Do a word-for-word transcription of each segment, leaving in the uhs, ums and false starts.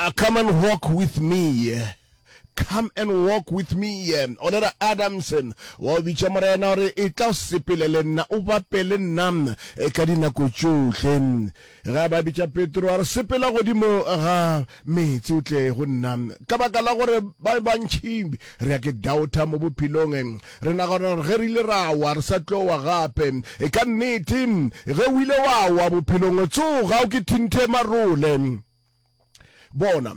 Uh, come and walk with me. Come and walk with me. Olera Adams wa o bitša Morena gore e tla o sepele le nna, o bape le nna e ka dinako tšohle. Ge a ba bitša Petro a re sepela godimo ga meetse o tle go nna. Ka baka la gore ba bantši re ya ke doubter mo bophelong, re nagana gore ge re ile ra wa re sa tlo wa gape. E ka nnete ge o ile wa wa bophelong, tsoga o ke thinthe marole. Bona,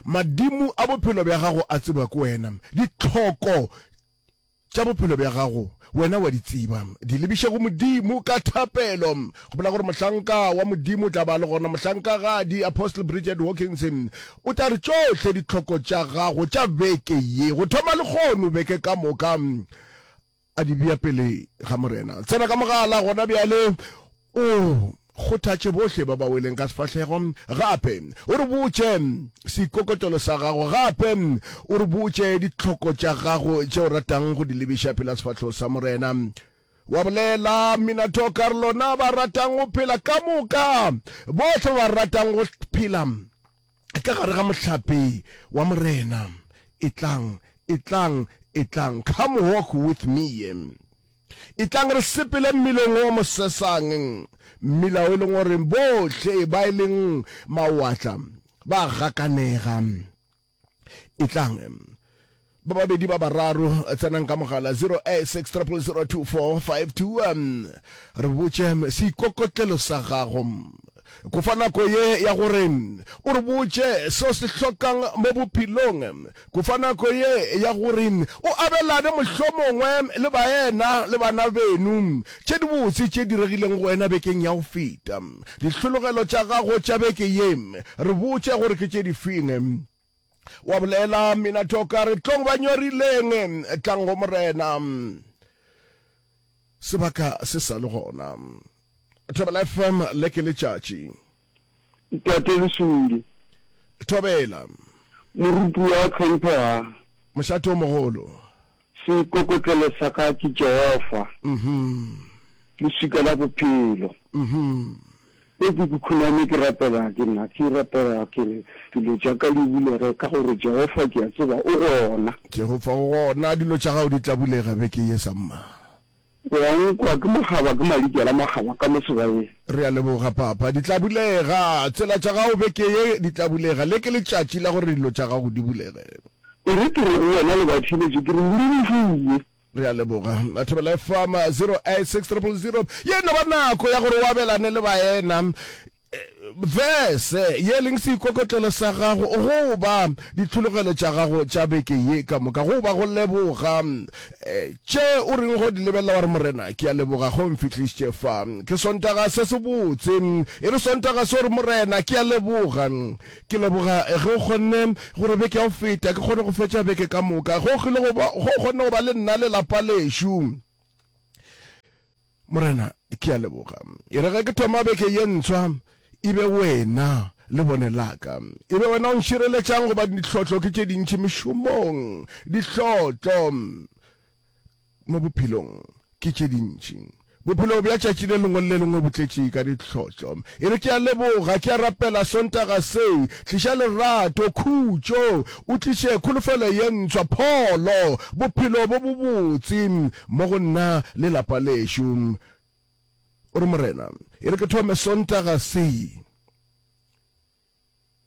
madimo a bophelo bja gago a tseba ke wena, ditlhoko tša bophelo bja gago wena wa di tseba. Di lebiše go Modimo ka thapelo. Gopola gore mohlanka wa Modimo o tla ba le gona, mohlankagadi Apostle Bridget Hawkins o tla re tšohle ditlhoko tša gago tša beke ye, go thoma lehono beke ka moka, a di bea pele ga Morena. Tsena ka mogala gona bjale o kgothatše bohle ba ba weleng ka sefahlego, gape o re botše seikokotlelo sa gago, gape o re botše ditlhoko tša gago tše o ratang go di lebiša pela sefahlego sa Morena. Wa bolela Minato ka re lona ba ratang go phela ka moka, bohle ba ratang go phela ka gare ga mohlape wa Morena, etlang, etlang, etlang, come walk with me. Etlang re sepele mmileng o mosesang, mmila o e leng gore bohle ba e leng mawatla ba gakanega. Etlang ba babedi ba bararo, tsenang ka mogala zero eight six triple zero two four five two, re botše seikokotlelo sa gago. Ko fa nako ye ya gore o re botše seo se hlokang mo bophelong. Ko fa nako ye ya gore o abelane mohlomongwe le baena le bana beno tše dibotse tše diregileng go wena bekeng ya go feta. Dihlologelo tša gago tša beke ye, re botše gore ke tše difeng. Wa bolela Minato ka re tlong ba nyorileng, tlang go Morena. Sebaka se sa le gona. Thobela F M le ke letšatši. Ntate Lesodi. Thobela. Moruti wa tlhomphega. Mošate o mogolo. Seikokotlelo sa ka ke Jehofa. Mhm. Leswika la bophelo. Mhm. E ke ke khuname ke rapela ke nna ke rapela ke re dilo tša ka di bulege ka gore Jehofa ke a tseba o gona. Jehofa o gona, dilo tša gago di tla bulega beke ye samma. Wa nkwa ke mogaba ke malikela magaba ka mo sebaeng. Re a leboga papa, di tla bulega tsela tša gago beke ye, di tla bulega. Le ke letšatši la gore dilo tša gago di bulege. E re ke re go wena le batheeletši ke re modimo. Re a leboga. Thobela F M zero eight six triple zero. Ye no ba nako ya gore o abelane le baena verse ye leng seikokotlelo sa gago goba ditlhologelo tša gago tša beke ye ka moka, goba go leboga tše o reng go di lebelela wa re Morena ke a leboga go mfihlišitše fa. Ke Sontaga se se botse, e re Sontaga se o re Morena ke a leboga, ke leboga ge o kgonne gore beke ya go feta ke kgone go fetša beke ka moka, go kgile go ba, go kgonne go ba le nna le lapa lešo. Morena ke a leboga. E re ge ke thoma beke ye ntshwa, e be wena le bone laka, e be wena o nšireletšang, goba dihlotlo ke tše dintši mešomong, dihlotlo mo bophelong ke tše dintši. Bophelo bja tšatši le lengwe le lengwe bo tletše ka dihlotlo. E re ke a leboga, ke a rapela Sontaga se, tliša lerato, khutšo, o tliše kholofelo ye ntshwa, pholo, bophelo bo bobotse mo go nna le lapa lešo. O re Morena, e re ke thome Sontaga se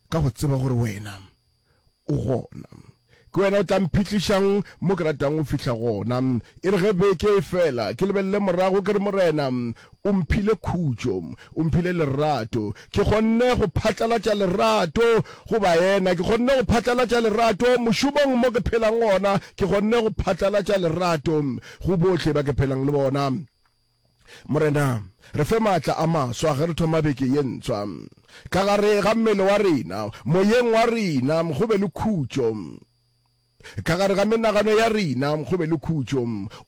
ka go tseba gore wena o gona. Ke wena o tla mphihlišang mo ke ratang go fihla gona. E re ge beke e fela, ke lebelele morago ke re Morena, o mphile khutšo, o mphile lerato. Ke kgonne go phatlalatša lerato go baena, ke kgonne go phatlalatša lerato mošomong mo ke phelang gona, ke kgonne go phatlalatša lerato go bohle ba ke phelang le bona. Morena, re fe maatla a maswa ge re thoma beke ye ntshwa. Ka gare ga mmele wa rena, moyeng wa rena, go be le khutšo. Ka gare ga menagano ya rena, go be le khutšo.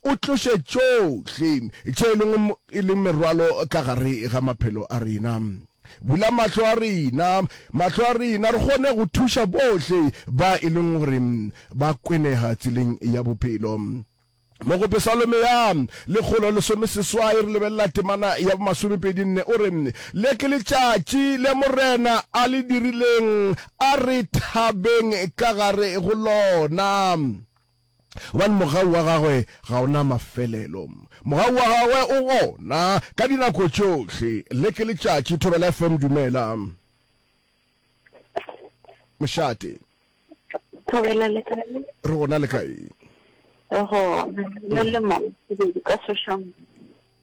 O tloše tšohle tše e leng, e leng merwalo ka gare ga maphelo a rena. Bula mahlo a rena, mahlo a rena, re kgone go thuša bohle ba e leng gore ba kwenega tseleng ya bophelo. Mo go Pesalome ya lekgolo lesome seswai re lebelela temana ya bomasomepedi nne, o re, Le ke letšatši le Morena a le dirileng, a re thabeng ka gare go lona. Gobane mogau wa gagwe ga o na mafelelo. Mogau wa gagwe o gona ka dinako tšohle. Le ke letšatši. Thobela F M, dumela. Mošate. Thobela le kae? Re gona le kae? Re gona. Le le mo sebedi ka Soshanguve.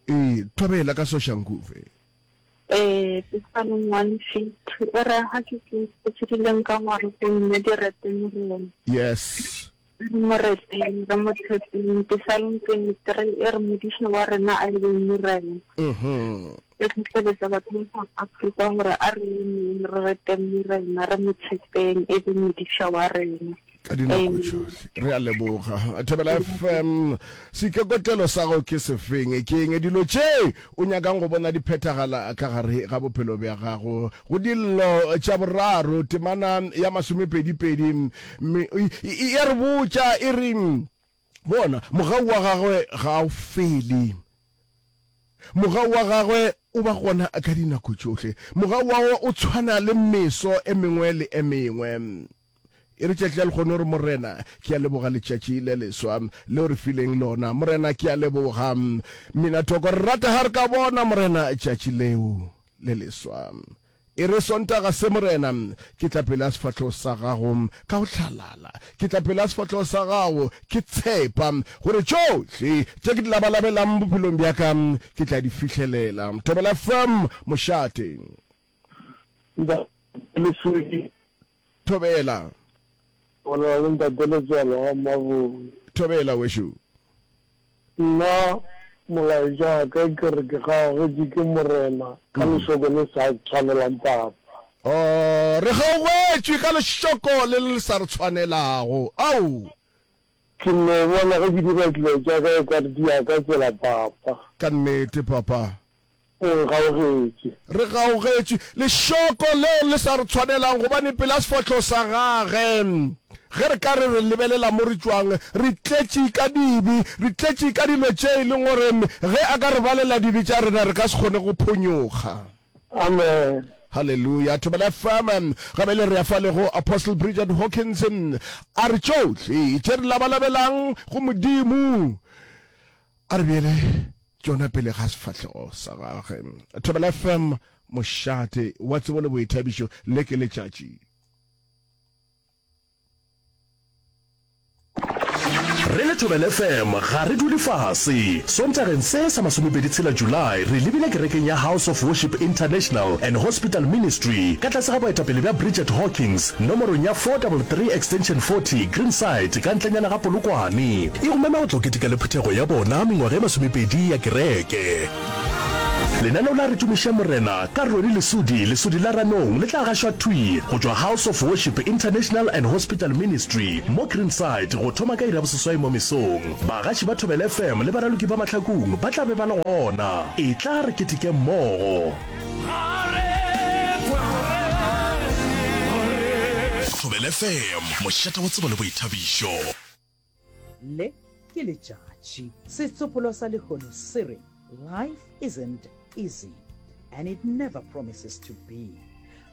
Ee, thobela ka Soshanguve. Ee, Psalm one fifty e re ha ke ke tse di leng ka gore go nne di rete Morena. Yes. Re mo reteng, re mo tshepeng. Psalm twenty-three e re modiša wa rena a e be Morena. Mhm. E tlhotlheletsa batho ba South Africa gore a re emeng re reteng Morena, re mo tshepeng e be modiša wa rena. Ka dinako tšohle. Re a leboga. Thobela F M, seikokotlelo sa gago ke sefeng? Ke eng dilo tše o nyakang go bona di phethagala ka gare ga bophelo bja gago? Go Dillo tša Boraro, temana ya masomepedi-pedi, mme e a re botša e re, Bona, mogau wa gagwe ga o fele. Mogau wa gagwe o ba gona ka dinako tšohle. Mogau wa gagwe o tshwana le meso e mengwe le e mengwe. E re tšatši la lehono re, Morena, ke a leboga letšatši le leswa le o re fileng lona. Morena, ke a leboga. Mina thoko, re rata ga re ka bona, Morena, tšatši leo le leswa. E re, Sontaga se, Morena, ke tla pele ga sefahlogo sa Gago ka go hlalala. Ke tla pele ga sefahlogo sa Gago ke tshepa gore tšohle tše ke di labalabelang bophelong bja ka ke tla di fihlelela. Thobela F M, mošate. Ntate Leswiki. Thobela. O na le Ntate Letswalo ga Mmabong. Thobela, wešo. Nna molaetša wa ka ke re ke gaugetšwe ke Morena ka lešoko le sa tshwanelang papa. Oh, re gaugetšwe ka lešoko le le sa re tshwanelago. Ao! Ke no bona ge ke dira dilo tša ka e ka re di ya ka tsela papa. Ka nnete papa. O nkgaugetše. Re gaugetšwe. Lešoko leo le sa re tshwanelang, gobane pela sefahlogo sa Gage, ge re ka re re lebelela mo re tšwang, re tletše ka dibe, re tletše ka dilo tše e leng gore ge A ka re balela dibe tša rena, re ka se kgone go phonyokga. Amen. Haleluya. Thobela F M, ga bjale re ya fale go Apostle Bridget Hawkins, a re tšohle tše re labalabelang go Modimo, a re bjele tšona pele ga sefahlego sa gagwe. Thobela F M, mošate wa tsebo le boithabišo, le ke letšatši. Re le Thobela F M ga re dule fase. Sontageng se sa masomepedi tshela July re lebile kerekeng ya House of Worship International and Hospital Ministry ka tlase ga boetapele bja Bridget Hawkins nomorong ya four double three Extension forty Greenside ka ntlenyana ga Polokwane. E go mema go tlo keteka le phuthego ya bona mengwaga e masomepedi ya kereke. Lenaneo la Re Tumiše Morena ka Ronnie Lesodi, Lesodi la Ranong, le tla gašwa thwi go tšwa House of Worship International and Hospital Ministry mo Greenside go thoma ka iri ya boseswai mo mesong. Bagaši ba Thobela F M le baraloki ba Mahlakung ba tla be ba le gona. Etla re keteke mmogo. Thobela F M, mošate wa tsebo le boithabišo. Le ke letšatši. Setsopolwa sa lehono se re, Life isn't easy and it never promises to be.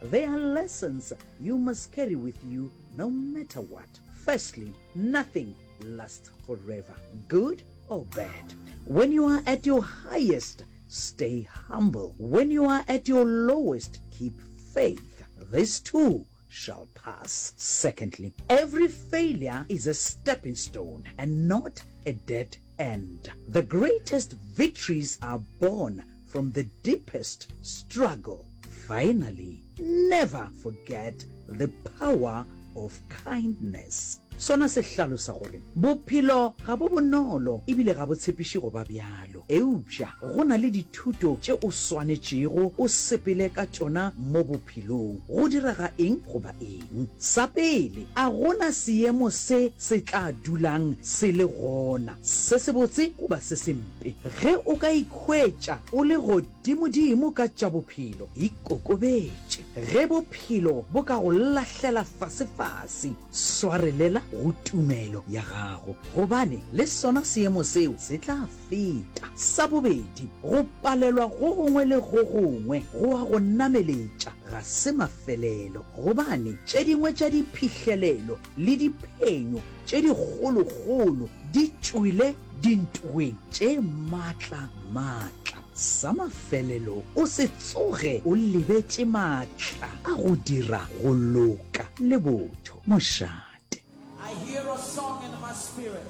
There are lessons you must carry with you no matter what. Firstly, nothing lasts forever, good or bad. When you are at your highest, stay humble. When you are at your lowest, keep faith. This too shall pass. Secondly, every failure is a stepping stone and not a dead end. The greatest victories are born from the deepest struggle. Finally, never forget the power of kindness. Sona se hlalosa gore, Bophelo ga bo bonolo e bile ga bo tshepiše go ba bjalo. Eupša go na le dithuto tše o swanetšego o sepele ka tšona mo bophelong, go direga eng goba eng. Sa pele, a go na seemo se se tla dulang se le gona, se sebotse goba se sempe. Ge o ka ikhwetša o le godimo godimodimo ka tša bophelo, ikokobetše. Ge bophelo bo ka go lahlela fasefase, swarelela go tumelo ya gago, gobane le sona seemo seo se tla feta. Sa bobedi, go palelwa go gongwe le go gongwe go a go nameletša ga se mafelelo, gobane tše dingwe tša diphihlelelo le diphenyo tše dikgolokgolo di tšwele dintweng tše matla-matla. Sa mafelelo, o se tsoge o lebetše matla a go dira go loka le botho. Mošate. I hear a song in my spirit.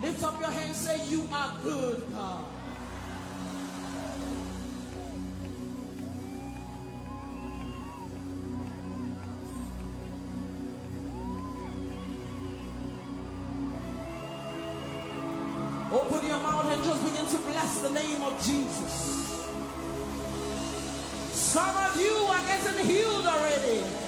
Lift up your hands, say, You are good, God. Open your mouth and just begin to bless the name of Jesus. Some of you are getting healed already.